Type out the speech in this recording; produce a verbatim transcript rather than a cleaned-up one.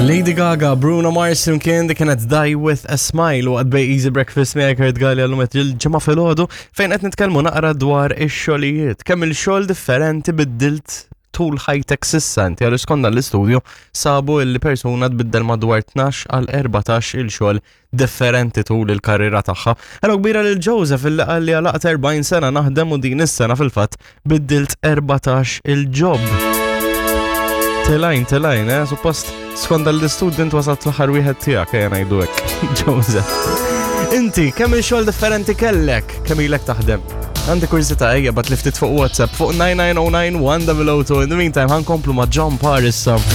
Lady Gaga, Bruno Mars flimkien, dik kienet Die With A Smile u għadek Easy Breakfast miegħi Kurt Galli għallum il-Ġimgħa filgħodu fejn qed nitkellmu naqra dwar ix-xogħlijiet. Kemm il-xogħol differenti biddilt tul ħajtek s'issa inti? Għal skont l-istudju sabu li persuna tbiddel madwar tnax għal erbatax il-xogħol differenti tul il-karriera tagħha. Hello kbira lil Joseph illi qal li għalaqt erbgħin sena naħdem u din is-sena fil-fatt biddilt erbatax il-job. Telajn, telajn, eh? Suppost skont l-istudju wasalt l-aħħar wieħed tiegħek, ejja ngħidu hekk. Joseph. Inti, kemm il-xogħol differenti kellek? Kemm ilek taħdem? Għandi kurżità, ejja ibgħatli ftit fuq WhatsApp fuq nine nine zero nine one zero zero two. In the meantime, ħa nkomplu ma' John Paris.